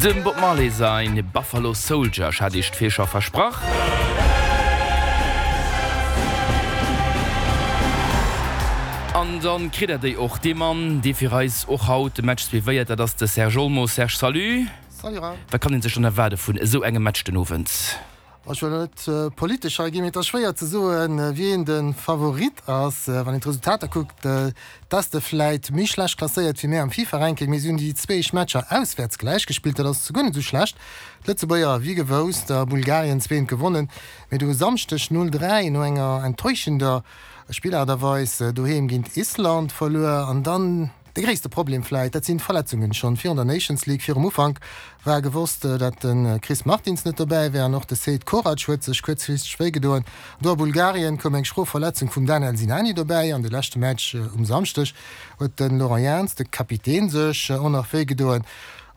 Dem Bob Marley sain Buffalo Soldier, ech hat iech d'Virschau versprach. An dann kritt der déi och. Dee Mann, dee fir eis och haut de Match suivéiert, dat ass de Serge Olmo. Serge, salut! Salut Raoul. Wat kann een sech dann erwaarde vun esou engem Match den Owend? Ech wëll net politesch hei ginn, mee et ass schwéier ze soen, wien de Favorit ass. Wann een d'Resultater kuckt, d'Este vläit méi schlecht klasséiert wéi mir am FIFA-Ranking, mee si hunn déi zwéi éischt Matcher auswäerts gläich gespillt, dat ass guer net esou schlecht. D'Lëtzebuerger, wéi gewousst, a Bulgarien zweent gewonnen, mee do e Samschdeg 0, 3 no enger enttäuschender Spillaart a Weis doheem géint Island verluer an dann, De gréisste Problem vläit, dat sinn d'Verletzungen. Schonn virun der Nations League, virum Ufank, war gewosst, dat de Chris Martins net dobäi wär an och de Seid Korac huet sech kuerzfristeg wéi gedoen. Do a Bulgarien koum eng schro Verletzung vum Daniel Sinani dobäi. An de leschte Match um Samschdeg huet de Laurent Jans, de Kapitän, sech och nach wéi gedoen.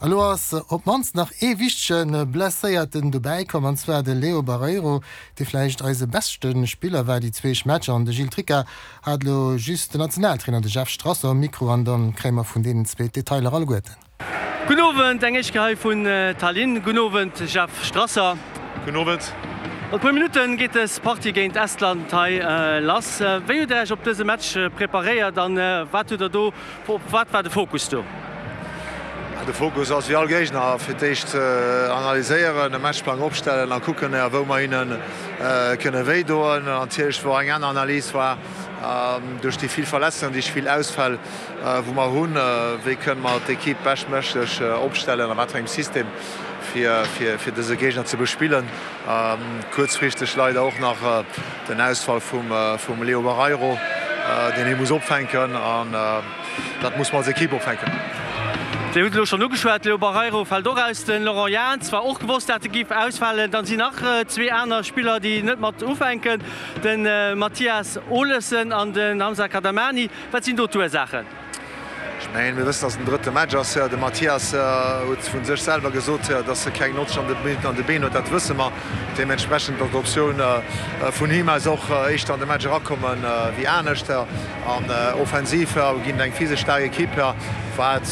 A lo ass op d'mannst nach ee wichtege Blesséierten dobäi komm, an zwar de Leo Barreiro, dee vläicht eise beschte Spiller war déi zweesch Matcher. An de Gilles Tricca Hat elo just den Nationaltrainer, de Jeff Strasser, um Mikro an dann kréie mer vun deenen zwee d'Detailer alleguerten. Gudden Owend, eng éischt Kéier hei vun Tallinn. Gudden Owend, Jeff Strasser. Gudden Owend. An e puer Minutte geet dës Partie géint Estland hei lass. Wéi hutt Der Iech op dëse Match preparéiert an wat hutt Der do, op wat war de Fokus do? De Fokus ass wéi all Géigner fir d'éischt analyséieren, e Matchplang opstellen a kucken, wou mer hinne kënne wéi doen. Natierlech wor eng aner Analys war duerch déi vill Verletzungen, déi vill Ausfäll wou mer hunn, wéi kënne mer d'Ekipp beschtméiglech opstellen, a wat fir engem System fir fir dëse Géigner ze bespillen. Kuerzfristeg leider och nach den Ausfall vum Leo Barreiro, deen hie muss opfänken. Dat muss mer als Ekipp opfänken. Dir hutt elo schonn ugeschwat, Leo Barreiro fält och aus, de Laurent Jans war och gewosst, dat e géif ausfalen. Dann sinn nach zwee aner Spiller, déi net mat ufänken, de Mathias Olesen an den Hamza Kadamani. Wat sinn do d'Ursaachen? Ech mengen, mir wëssen, datt et den drëtte Match ass. De Mathias huet vu sech selwer gesot, datt e keng 90 Minutten an de Been huet. Dat wësse mer. Deementsprechend ass d'Optioun vun him aus och éischter an de Match erakommen wéi anescht. An offensiv ginn et eng physesch staark Ekipp, wat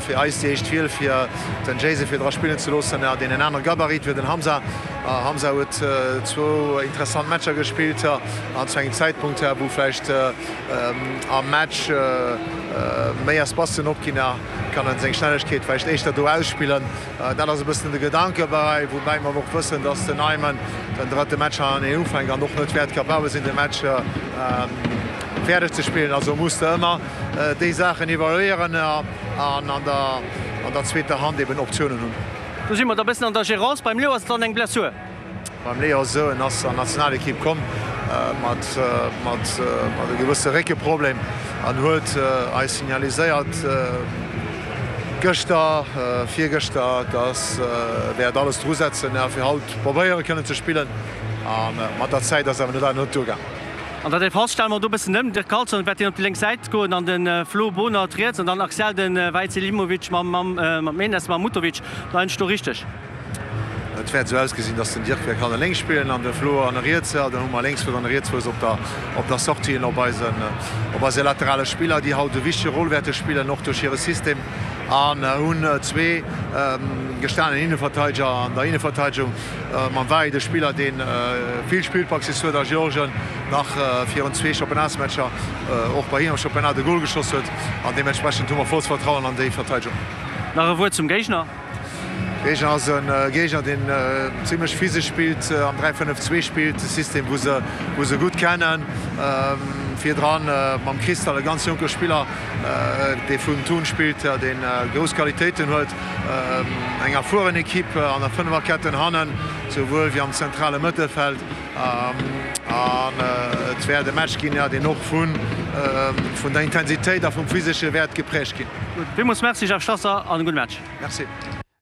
fir eis déi éischt Wiel fir den Jason fir dra spillen ze loossen, deen en anere Gabarit wéi den Hamza. Hamza huet zwou interessant Matcher gespillt an zu engem Zäitpunkt, wou vläicht am Match méi Espacen opginn, kann en seng Schnellegkeet vläicht éischter do ausspillen. Dat ass e bëssen de Gedanke bei, woubäi mer och wëssen, dass den Aymen den drëtte Match hannerteneen ufänkt an och net wäert capabel sinn, de Match fäerdeg ze spillen. Also muss de ëmmer déi Saachen evaluéieren an an der zweeter Hand eben Optiounen hunn. Do si mer da bëssen an der Gerance. Beim Leo ass et dann eng Blessur. Beim Leo ass et esou, en ass an d'Nationalekipp komm mat e gewësse Réckeproblem an huet eis signaliséiert gëschter, virgëschter, dass e wäert alles dru setzen fir haut probéiere kënnen ze spillen. A mat der Zäit ass awer net net duergaang. An der Defense stelle mer do e bëssen ëm. De Carlson wäert deen op déi lénk Säit goen an de Flo Bohnert riets an dann axial de Vahid Selimovic mam Enes Mahmutovic. Leien ech do richteg? Et wäert esou ausgesinn, dass den Dirk wäert hanne lénks spillen an de Flo hanne riets. Dann hu mer e Lénksfouss an e Rietsfouss op der op der Sortie op eisen op eise laterale Spiller, déi haut e wichtege Rôle wäerte spillen, och duerch hire System. An hunn zwee gestanen Innenverteideger an der Innenverteidegung mam Vahid, e Spiller, dee vill Spillpraxis huet a Georgien nach virun zwee Championnats-Matcher och bei him am Championnat e Gol geschoss huet. An deementsprechend hu mer vollst Vertrauen an déi Verteidegung. Nach e Wuert zum Géigner. Géigner ass e Géigner, deen zimlech physesch spillt, am 3-5-2 spillt, e System, wou se, wou se gutt kennen. Virdran mam Christal e ganz jonke Spiller, dee vun Thun spillt, dee grouss Qualitéiten huet. Eng erfueren Ekipp an der Fënneferketten hannen, souwuel wéi am zentrale Mëttelfeld. An et wäert e Match ginn, deen och vun der Intensitéit a vum Physesche wäert geprägt ginn. Gutt, villmools Merci Jeff Strasser an e gudde Match. Merci.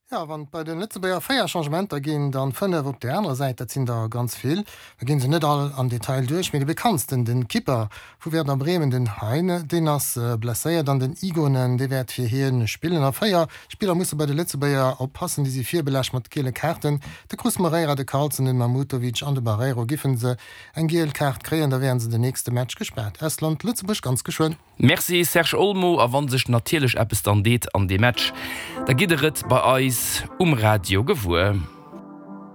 Jo, wann et bei den Lëtzebuerger 4 Changementer ginn, dann 5 op där anerer Säit, dat sinn der ganz vill. Mir ginn se net all am Detail duerch, mee de bekanntsten, den Kipper vu Werder Bremen, den Heine, deen ass blesséiert an den Igonen, dee wäert fir hien spillen. A 4 Spiller musse bei de Lëtzebuerger oppassen, déi si virbelascht mat giele Kaarten, de Cruz Moreira, de Carlsen, den Mahmutovic an de Barreiro. Giffen se eng giel Kaart kréien, da wären se den nächste Match gespaart. Estland, Lëtzebuerg ganz geschwënn. Merci Serge Olmo, a wann sech natierlech eppes dann deet an deem Match, da gitt der et bei eis. eis um Radio gewuer.